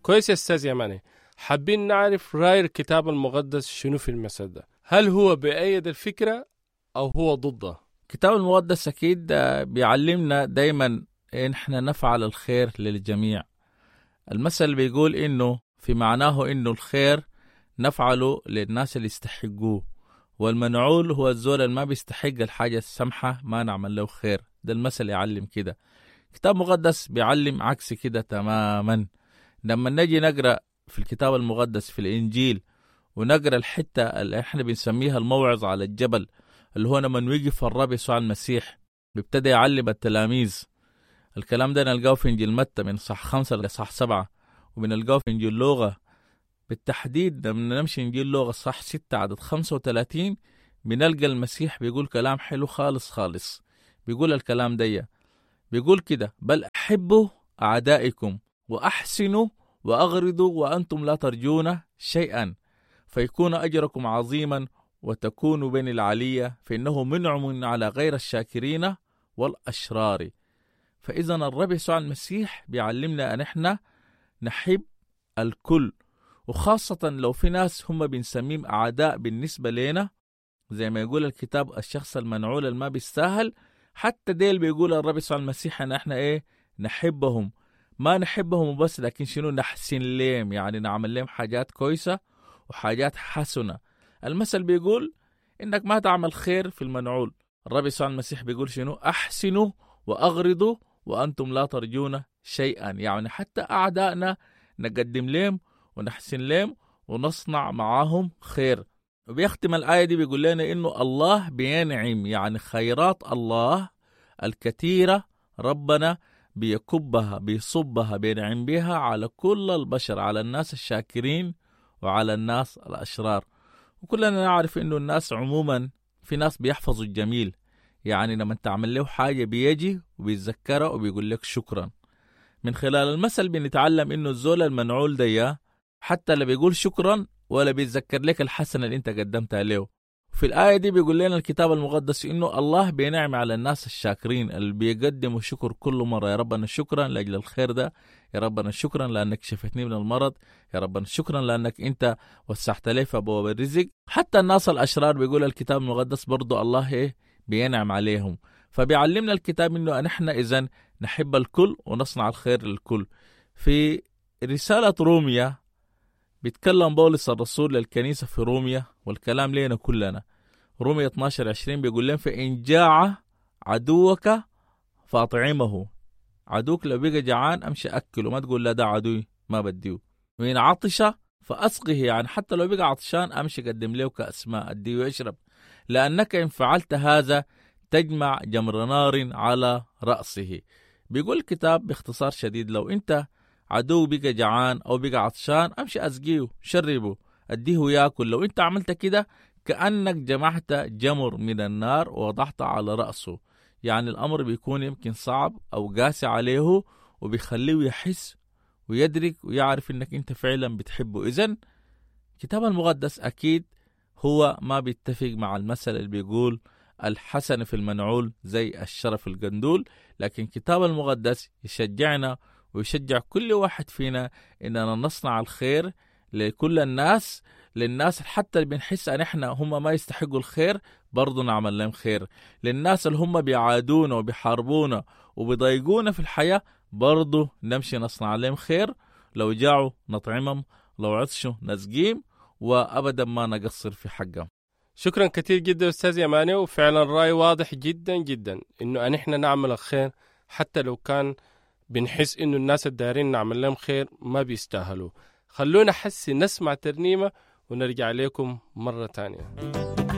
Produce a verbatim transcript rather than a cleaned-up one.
كويس يا أستاذ يماني، حابين نعرف رأي الكتاب المقدس شنو في المثل ده؟ هل هو بأيد الفكرة أو هو ضدها؟ الكتاب المقدس أكيد بيعلمنا دايما إن إحنا نفعل الخير للجميع. المثل بيقول إنه في معناه إنه الخير نفعله للناس اللي يستحقوه، والمنعول هو الزول اللي ما بيستحق الحاجة السمحة ما نعمل له خير. ده المثل يعلم كده. الكتاب المقدس بيعلم عكس كده تماما. لما نجي نقرأ في الكتاب المقدس في الإنجيل ونقرأ الحتة اللي احنا بنسميها الموعظة على الجبل، اللي هو لما وقف الرب يسوع المسيح بيبتدي يعلم التلاميذ. الكلام ده نلقاه في إنجيل متى من صح خمسة لصح سبعة، وبنلقاه في إنجيل لوقا بالتحديد. لما نمشي إنجيل لوقا صح ستة عدد خمسة وثلاثين بنلقى المسيح بيقول كلام حلو خالص خالص. بيقول الكلام دي، بيقول كده: بل أحبوا أعدائكم وأحسنوا وأغرضوا وأنتم لا ترجون شيئا، فيكون أجركم عظيما وتكونوا بين العلية، فإنه منعم على غير الشاكرين والأشرار. فإذا الرب يسوع المسيح بيعلمنا أن احنا نحب الكل، وخاصة لو في ناس هم بنسميهم أعداء بالنسبة لنا، زي ما يقول الكتاب الشخص المنعول اللي ما بيستاهل، حتى ديل بيقول الرب يسوع المسيح أن احنا إيه نحبهم. ما نحبهم بس، لكن شنو نحسن لهم، يعني نعمل لهم حاجات كويسة وحاجات حسنة. المثل بيقول إنك ما تعمل خير في المنعول. الرب يسوع المسيح بيقول شنو؟ أحسنوا وأغرضوا وأنتم لا ترجون شيئا. يعني حتى أعدائنا نقدم لهم ونحسن لهم ونصنع معاهم خير. وبيختم الآية دي بيقول لنا إنه الله بينعم، يعني خيرات الله الكثيرة ربنا بيكبها بيصبها بينعم بها على كل البشر، على الناس الشاكرين وعلى الناس الأشرار. وكلنا نعرف إنه الناس عموما في ناس بيحفظوا الجميل، يعني لما تعمل له حاجة بيجي وبيتذكرها وبيقول لك شكرا. من خلال المثل بنتعلم إنه الزول المنعول ده حتى لا بيقول شكرا ولا بيتذكر لك الحسنة اللي انت قدمتها له. في الآية دي بيقول لنا الكتاب المقدس إنه الله بينعم على الناس الشاكرين اللي بيقدموا شكر كل مرة. يا ربنا شكرا لأجل الخير ده، يا ربنا شكرا لأنك شفتني من المرض، يا ربنا شكرا لأنك أنت وسعت لي في أبواب الرزق. حتى الناس الأشرار بيقول الكتاب المقدس برضو الله إيه بينعم عليهم. فبيعلمنا الكتاب إنه نحن إذن نحب الكل ونصنع الخير للكل. في رسالة روميا بيتكلم بولس الرسول للكنيسة في روميا، والكلام لينا كلنا. روميا اثناشر عشرين بيقول لهم: فإن جاع عدوك فأطعمه. عدوك لو بقى جعان أمشي أكله، ما تقول لا ده عدوي ما بديه. وإن عطش فأسقه، يعني حتى لو بقى عطشان أمشي قدم له كأس ماء أديه يشرب، لأنك إن فعلت هذا تجمع جمر نار على رأسه. بيقول الكتاب باختصار شديد: لو أنت عدو بقى جعان أو بقى عطشان أمشي أسقيه شربه أديه ياكل. لو أنت عملت كده كأنك جمعت جمر من النار ووضعت على رأسه. يعني الأمر بيكون يمكن صعب أو قاسي عليه، وبيخليه يحس ويدرك ويعرف إنك أنت فعلا بتحبه. إذن الكتاب المقدس أكيد هو ما بيتفق مع المثل اللي بيقول الحسن في المنعول زي الشرف القندول، لكن الكتاب المقدس يشجعنا ويشجع كل واحد فينا إننا نصنع الخير لكل الناس، للناس حتى اللي بنحس أن إحنا هم ما يستحقوا الخير برضو نعمل لهم خير، للناس اللي هم بيعادونا وبيحاربونا وبيضايقونا في الحياة برضو نمشي نصنع لهم خير. لو جاعوا نطعمهم، لو عطشوا نسقيهم، وأبدا ما نقصر في حقهم. شكرا كثير جدا أستاذ يماني، وفعلا رأي واضح جدا جدا إنه أن إحنا نعمل الخير حتى لو كان بنحس إنه الناس الدارين نعمل لهم خير ما بيستاهلوا. خلونا حسي نسمع ترنيمة ونرجع لكم مرة تانية.